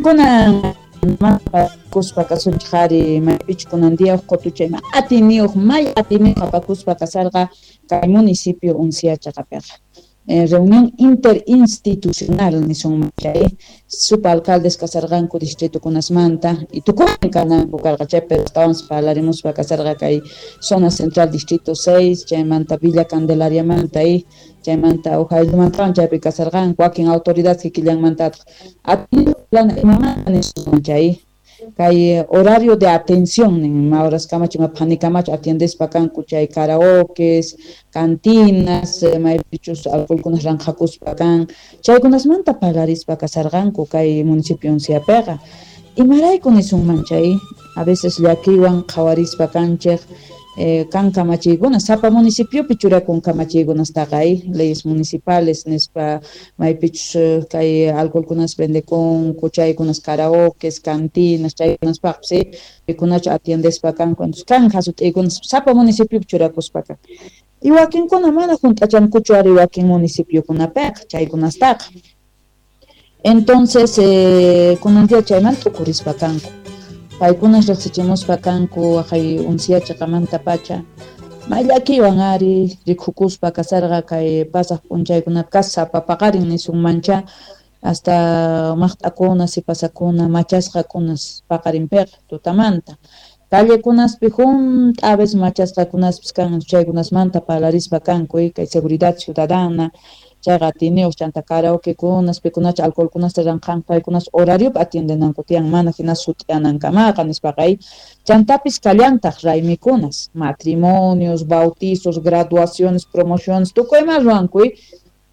Kunan kuspa kasunchej ari maypichu kunan día uj qotuchay atiyniyuq may atiyniyuq apakuspa kasarqa kay municipio Uncía chaqapiqa. Reunión interinstitucional nisunman chay subalcaldes kasarqanku distritokunasmanta y tukuynin kananku karqa chay, pero astawanpas parlarimuspa kasarqa kay zona central distrito 6 chaymanta Villa Candelariamanta y chaymanta uj ayllumantawan chaypi kasarqanku wakin autoridades kikillanmantataq imamanta nisunman chay kay horario de atención nin ima horas kamachu ima phanikamachu atiendespa kanku chay karaokes, cantinas, maypichus alcoholkunas ranqhakuspa kan chaykunasmanta parlarispa kasarqanku kay municipio Unciapiqa. Imarayku nisunman chay a veces llakiywan qhawarispa kanchej kan kamachiykuna sapa municipiopi churakun kamachiykunastaqa leyes municipales nispa maypichus kay alcoholkunas vendekunku chaykunas karaokes, cantinas chaykunaspaqpis pikunachu atiendespa kanku entonces kan jasut'iykunas sapa municipiopi churakuspa kan y wakinkuna mana junt'achankuchu ari wakin municipiokunapiqa chaykunastaqa. Entonces kunan día chaymanta t'ukurispa kanku paykunas riqsichimuspa kanku waqay Uncía chaqamanta pacha may llakiywan ari rikukuspa kasarqa kay pasaq p'unchaykunapi kasapa paqarin nisunmancha hasta maqt'akuna sipasakuna machasqakunas paqarinpiqa tutamanta callekunaspi junt'a a veces machasqakunaspis kan chaykunasmanta parlarispa kanku kay seguridad ciudadana chayqa atiyniyuq chanta karaokekunas pikunachu alcoholkunasta ranqhanku paykunas horariopi atiendenanku tiyan mana hina sut'iyanankamaqa nispaqa chantapis kallantaq raymikunas matrimonios, bautizos, graduaciones, promociones tukuy ima ruwanku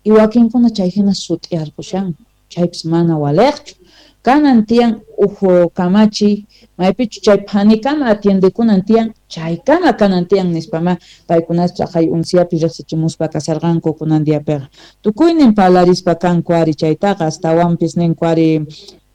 y wakinkuna chay hina sut'iyarqushanku chaypis mana waliqchu kanan tiyan uj kamachiy maypichu chay phanikama atiendekunan tiyan chaykama kanan tiyan nispama paykunas chaqay Unciapi riqsichimuspa kasarqanku kunan diapiqa tukuynin parlarispa kanku ari chaytaqa astawanpis ninku ari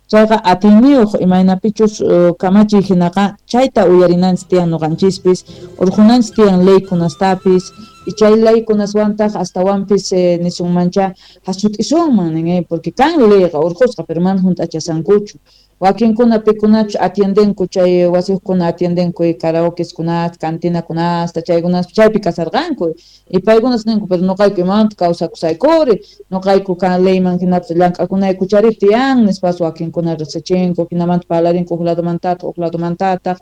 chayqa atiyniyuq imaynapichus kamachiy hinaqa chayta uyarinanchis tiyan ñuqanchispis urqunanchis tiyan leykunastapis y chay leykunaswantaq astawanpis nisunmancha jasut'isunman nin porque kan leyqa urqusqa pero mana junt'achasankuchu wakinkuna pikunachu atiendenku chay wasiyuqkuna atiendenku karaokeskunata cantinakunasta chaykunaspi chaypi kasarqanku y paykunas ninku pero ñuqayku imamanta kawsakusaykuri ñuqayku kan leyman hinapis llank'akunayku chari tiyan nispas wakinkuna riqsichinku hinamanta parlarinku huk ladomantataq huk ladomantataq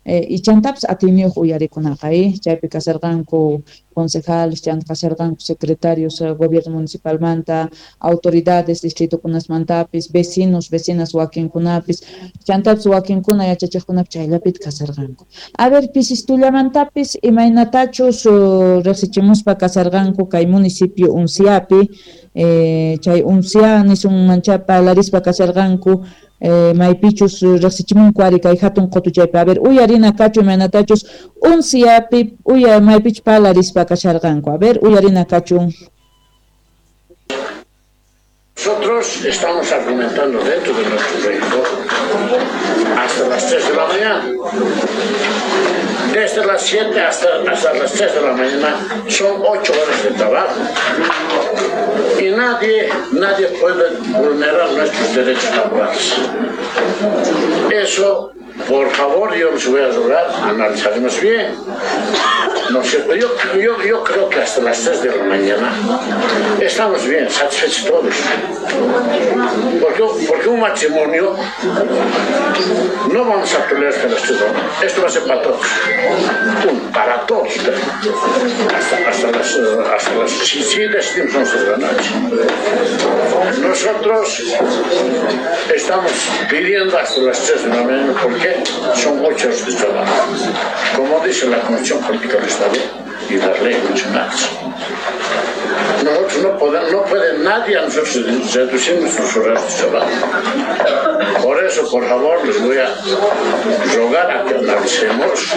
y chantapis atiyniyuq uyarikunaqa chaypi kasarqanku concejales chanta kasarqanku secretarios gobierno municipalmanta autoridades distritokunasmantapis vecinos vecinas wakinkunapis chantapis wakinkuna yachachiqkunapis chayllapita kasarqanku. A ver pisistuillamantapis imaynatachus riqsichimuspa kasarqanku kay municipio Unciapi chay Uncia nisunmancha parlarispa kasarqanku maypichus riqsichimunku ari kay hatun qotuchaypi a ver uyarina kachu imaynatachus Unciapi uya maypichus parlarispa kasharqanku a ver uyarina kachun. Nosotros estamos argumentando dentro de nuestro proyecto hasta las 3 de la mañana. Desde las 7 hasta las 3 de la mañana son 8 horas de trabajo. Y nadie puede vulnerar nuestros derechos laborales. Eso, por favor, yo les voy a rogar, analizaremos bien. No es cierto, yo creo que hasta las 3 de la mañana estamos bien, satisfechos todos. Porque un matrimonio no vamos a pelear hasta las 3 de la mañana. Esto va a ser para todos. Para todos, pero hasta las 7, 11 de la noche. Nosotros estamos pidiendo hasta las 3 de la mañana porque son 8 horas de trabajo. Como dice la Constitución Política del Estado y las leyes nacionales. Nosotros no puede nadie a nosotros reducir nuestros horarios de trabajo. Por eso, por favor, les voy a rogar a que analicemos.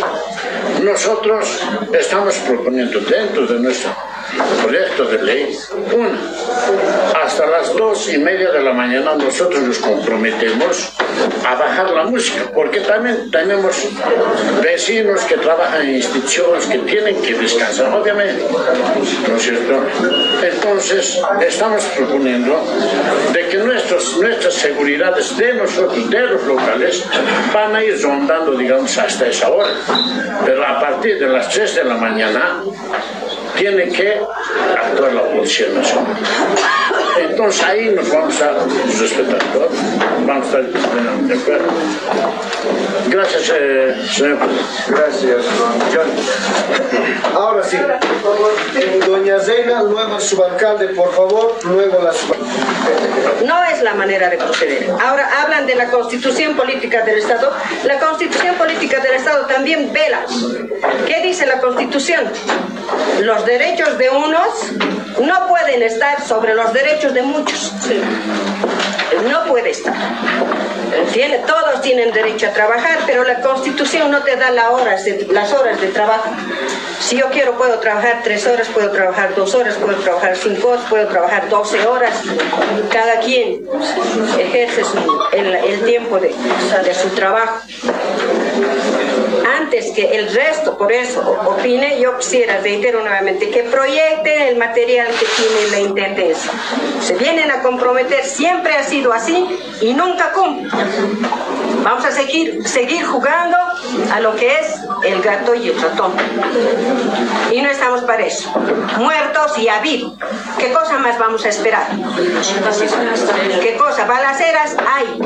Nosotros estamos proponiendo dentro de nuestra Proyecto de ley, una, hasta las 2:30 de la mañana nosotros nos comprometemos a bajar la música, porque también tenemos vecinos que trabajan en instituciones que tienen que descansar, obviamente, ¿no es cierto? Entonces, estamos proponiendo de que nuestras seguridades de nosotros, de los locales, van a ir rondando, digamos, hasta esa hora. Pero a partir de las 3 de la mañana tiene que actuar la Policía Nacional. Entonces ahí nos vamos a respetar todos, vamos a estar de acuerdo. Gracias, señor presidente. Gracias, don John. Ahora sí, doña Zeina, luego el subalcalde, por favor, luego la subalcalde. No es la manera de proceder. Ahora hablan de la Constitución Política del Estado. La Constitución Política del Estado también vela. ¿Qué dice la Constitución? Los derechos de unos no pueden estar sobre los derechos de muchos. No puede estar. Todos tienen derecho a trabajar, pero la Constitución no te da las horas de trabajo. Si yo quiero, puedo trabajar 3 horas, puedo trabajar 2 horas, puedo trabajar 5 horas, puedo trabajar 12 horas. Cada quien ejerce el tiempo de su trabajo. Antes que el resto, por eso, opine, yo quisiera, reitero nuevamente, que proyecten el material que tiene la Intendencia. Se vienen a comprometer, siempre ha sido así y nunca cumplen. Vamos a seguir jugando a lo que es el gato y el ratón. Y no estamos para eso. Muertos y a vivo. ¿Qué cosa más vamos a esperar? ¿Qué cosa? Balaceras hay.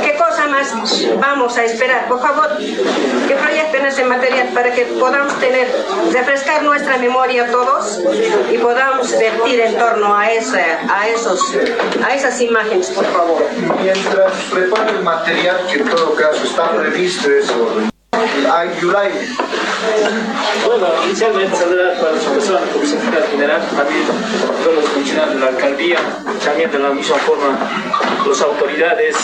¿Qué cosa más vamos a esperar? Por favor, que proyecten ese material para que podamos refrescar nuestra memoria todos y podamos vertir en torno a esas imágenes, por favor. Mientras prepara el material, que en todo caso está previsto eso. Yulay. Bueno, inicialmente saludar para su persona como secretario general, también todos los funcionarios de la alcaldía, también de la misma forma las autoridades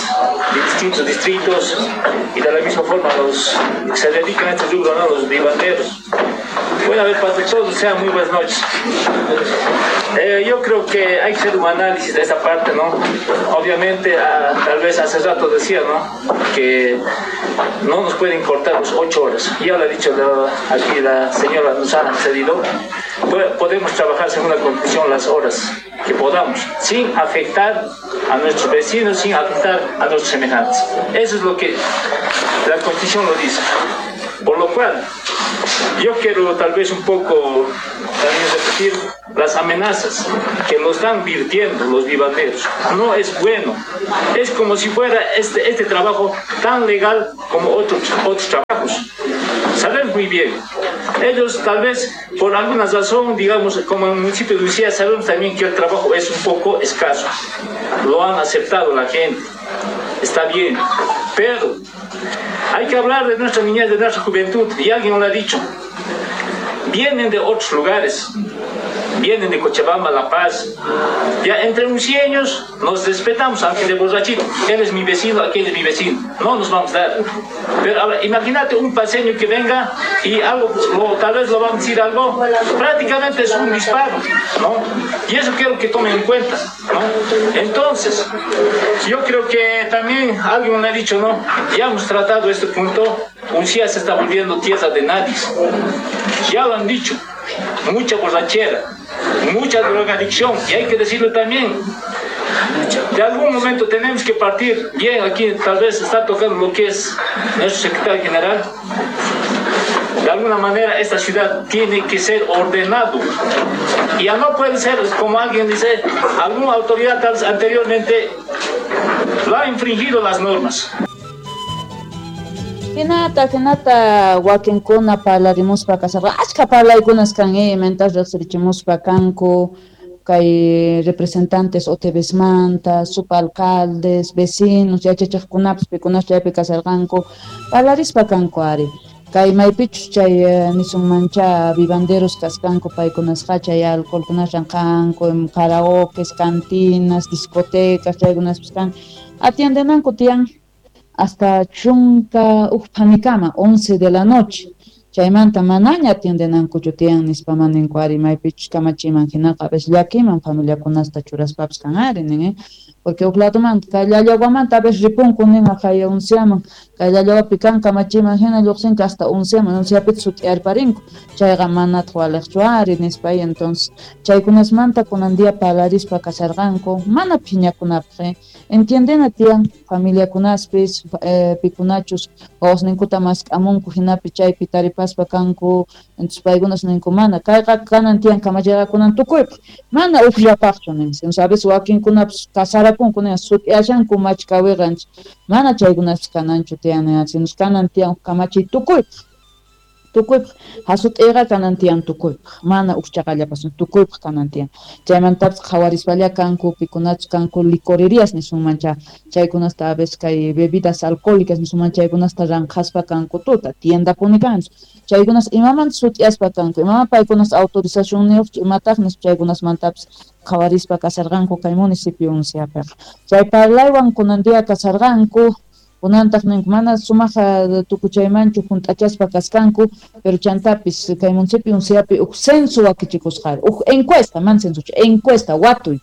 de distintos distritos y de la misma forma los que se dedican a este rubro, ¿no? Los vivanderos. Bueno, a ver, para todos sean muy buenas noches. Yo creo que hay que hacer un análisis de esta parte, ¿no? Obviamente, tal vez hace rato decía, ¿no? Que no nos pueden cortar las 8 horas. Ya lo ha dicho aquí la señora, nos ha cedido. Podemos trabajar según la Constitución las horas que podamos, sin afectar a nuestros vecinos, sin afectar a nuestros semejantes. Eso es lo que la Constitución lo dice. Por lo cual, yo quiero tal vez un poco también repetir las amenazas que nos están virtiendo los vivanderos. No es bueno. Es como si fuera este trabajo tan legal como otros trabajos. Sabemos muy bien. Ellos tal vez por alguna razón, digamos, como en el municipio de Uncía, sabemos también que el trabajo es un poco escaso. Lo han aceptado la gente. Está bien. Pero hay que hablar de nuestra niñez, de nuestra juventud, y alguien lo ha dicho. Vienen de otros lugares, vienen de Cochabamba, La Paz. Ya entre uncieños nos respetamos, aunque de borrachito. Él es mi vecino, aquel es mi vecino. No nos vamos a dar. Pero ahora, imagínate un paseño que venga y algo, tal vez lo vamos a decir algo, prácticamente es un disparo, ¿no? Y eso quiero que tomen en cuenta, ¿no? Entonces, yo creo que también alguien me ha dicho, ¿no? Ya hemos tratado este punto, Uncía se está volviendo tierra de nadie. Ya lo han dicho, mucha borrachera, mucha drogadicción, y hay que decirlo también. De algún momento tenemos que partir. Bien, aquí tal vez está tocando lo que es nuestro secretario general. De alguna manera esta ciudad tiene que ser ordenado. Y ya no puede ser, como alguien dice, alguna autoridad tal vez anteriormente lo ha infringido las normas. Hinata wakinkuna parlarimuspa kasarqa achka parlaykunas kan imantas riqsirichimuspa kanku kay representantes OTBsmanta, subalcaldes, vecinos, yachachiqkunapas pikunas chaypi kasarqanku parlarispa kanku ari. Kay maypichus chay nisunmancha vivanderos kasqanku paykunasqa chay alcoholkunas ranqanku, karaokes, cantinas, discotecas, chaykunaspis kan atiendenanku tiyan hasta chunka ujpanikama, 11 de la noche. Chaymanta manaña atiendenankuchu tiyan nispa maninku ari maypichus kamachiman hinaqa a veces llakiman familiakunasta churaspapis kan ari nin, porque huk ladomanta kay Llallawamanta a veces ripunku nin haqay Unciaman, kay Llallawapi kan kamachiman hina lluqsinku hasta Unciaman, Unciapita sut'iyarparinku, chayqa manataq waliqchu ari nispa. Y entonces chaykunasmanta kunan día parlarispa kasharqanku mana phiñakunapaq, entiendena tiyan familiakunaspis pikunachus wawasninkuta mask'amunku hinapi chaypi taripaspa kanku, entonces paykunas ninku mana kayqa kanan tiyan kamachiyqa kunan tukuypaq mana ukllapaqchu nin, a veces wakinkunapis kasarakunku nin sut'iyashanku machkawiqa, mana chaykunaspis kananchu tiyan nin, sino kanan tiyan kamachiy tukuypaq tukuypaq hasut'iyqa kanan tiyan tukuypaq mana ukchaqallapas tukuypaq kanan tiyan. Chaymantapis qhawarispalla kanku pikunachus kanku licorerías nisunmancha chaykunasta a veces kay bebidas alcohólicas nisunman chaykunasta ranqhaspa kanku tuta tiendapuni kanchu chaykunas imamanta sut'iyaspa kanku imaman paykunas autorizacionniyuqchu imataq nispa chaykunasmantapis qhawarispa kasarqanku kay municipio Unciapiqa. Chay parlaywan kunan día kasarqanku kunantaq ninku mana sumaq tukuchaymanchu junt'achaspa kaskanku, pero chantapis kay municipio Unciapi uj censo wakichikusqari, uj encuesta, mana censochu, encuesta watuy.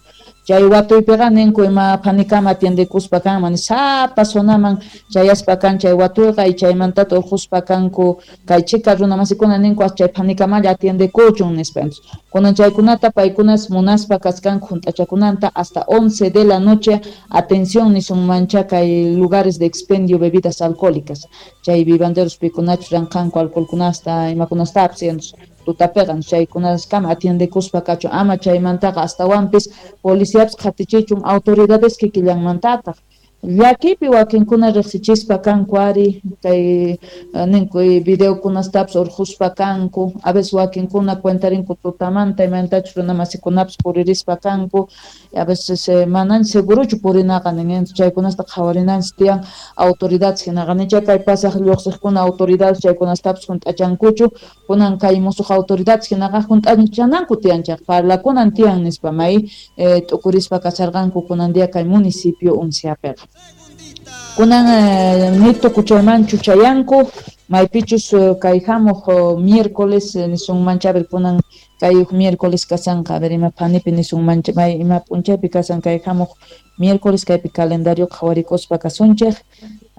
Chay watuypiqa ninku ima phanikama atiendekuspa kanman sapa zonaman chayaspa kan chay watuyqa y chaymantata urquspa kanku kay chika runamasikuna ninku chay phanikamalla atiendekuchun nispa. Kunan chaykunata paykunas munaspa kaskanku junt'achakunanta hasta 11 de la noche atención nisunmancha kay lugares de expendio bebidas alcohólicas chay vivanderos pikunachus ranqanku alcoholkunasta imakunastapis tutapiqa chaykunaskama atiendekuspa kachun ama chaymantaqa astawanpis policiapis qhatichichun autoridades kikillanmantataq llakipi wakinkuna riqsichispa kanku ari kay ninku videokunastapis urquspa kanku a veces wakinkuna cuentarinku tutamanta imantachus runamasikunapis puririspa kanku a veces manan seguruchu purinaqa nin chaykunasta qhawarinanchis tiyan autoridades hinaqa nicha kay pasaq lluqsiqkuna autoridades chaykunastapis junt'achankuchu kunan kay musuq autoridades hinaqa junt'achananku tiyan chayqa parlakunan tiyan nispa may t'ukurispa kasharqanku kunan día kay municipio Unciapiqa. Kunan ni tukuchaymanchu chayanku maypichus kay hamuq miércoles nisunmancha a ver kunan kay uj miércoles kasanqa a ver ima phanipi nisunmancha may ima p'unchaypi kasan kay hamuq miércoles kaypi calendario qhawarikuspa kasunchik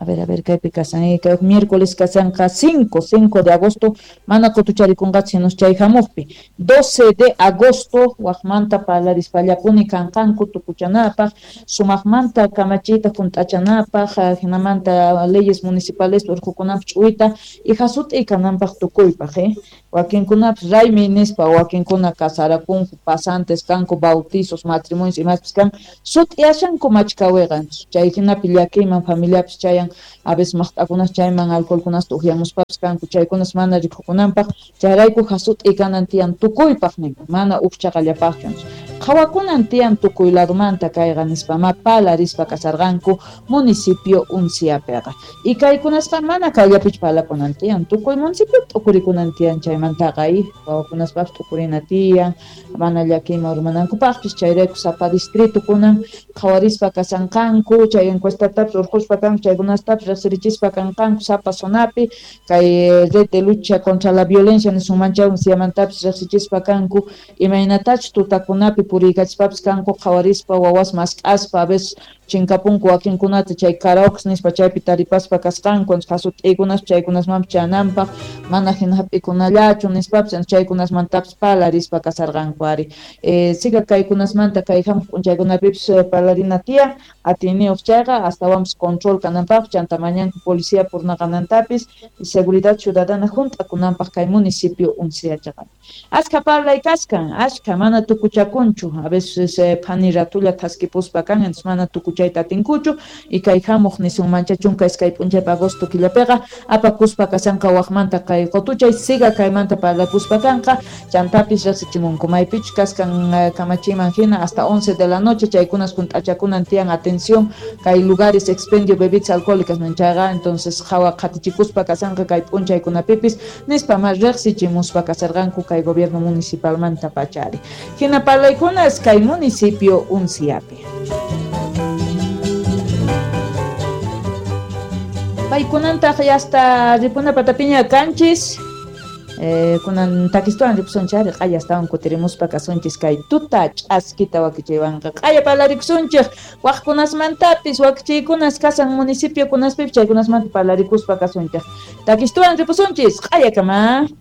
a ver kaypi kasan kay uj miércoles kasanqa 5 de agosto mana qutucharikunqachu sino chay hamuqpi 12 de agosto waqmanta parlarispallapuni kanqanku tukuchanapaq sumaqmanta kamachiyta junt'achanapaq hinamanta leyes municipales urqukunapaq ch'uyta y hasut'iy kananpaq tukuypaq wakinkunapis raymi nispa wakinkuna kasarakunku pasantes kanku bautizos matrimonios imaspis kan sut'iyashanku machkawiqa chay hinapi llakiyman familiapis chayan a veces maqt'akunas chayman alcoholkunasta uqyamuspapis kanku chaykunas mana rikukunanpaq chayrayku hasut'iy kanan tiyan tukuypaq nin mana ukchaqallapaqchu qhawakunan tiyan tukuy ladomanta kayqa nispa ma parlarispa kasarqanku municipio Unciapiqa y kaykunasqa mana kayllapichu parlakunan tiyan tukuy municipio t'ukurikunan tiyan chaymantaqa wawakunaspapis t'ukurina tiyan mana llakiyman urmanankupaqpis chayrayku sapa distrito kunan qhawarispa kasanqanku chay encuestatapis urquspa kanku chaykunastapis riqsirichispa kanqanku sapa zonapi kay red de lucha contra la violencia nisunmancha Unciamantapis riqsichispa kanku imaynatachus tutakunapi puriykachispapis kanku qhawarispa wawas mask'aspa a veces chinkapunku wakinkunata chay karaokes nispa chaypi taripaspa kasqanku hasut'iykunas chaykunasmanpis chananpaq mana hina hap'ikunallachu nispapis chaykunasmantapis parlarispa kasarqanku ari siga kaykunasmanta kay hamuq p'unchaykunapipis parlarina tiyan atiyniyuq chayqa astawanpis control kananpaq chanta mañanku policía purnaqanantapis y seguridad ciudadana junt'akunanpaq kay municipio Unciachaqa. Ashka parlay kaskan ashka mana tukuchakunchu a veces phani ratulla thaskipuspa kan entonces mana tukuchayta atinkuchu y kay hamuq nisunmancha 12 p'unchaypa agosto killapiqa apakuspa kasanqa waqmanta kay qutuchay siga kaymanta parlakuspa kanqa chantapis riqsichimunku maypichus kaskan kamachiman hina hasta 11 de la noche chaykunas junt'achakunan tiyan atención kay lugares expendio bebidas alcohólicas manchayqa entonces qhawa qhatichikuspa kasanqa kay p'unchaykunapipis nispa ma riqsichimuspa kasarqanku kay gobierno municipalmanta pachari hina parlaykunas kay municipio Unciapi. Paykunantaq hasta ripuna patapiña kanchis. Kunan takistuwan ripusunchis ari q'aya astawan kutirimuspa kasunchis kay tuta ch'askita wakichiywanqa q'aya parlarikusunchik waqkunasmantapis wakichiykunas kasan municipiokunaspipis chaykunasmanta parlarikuspa kasunchik takistuwan ripusunchis q'ayakama.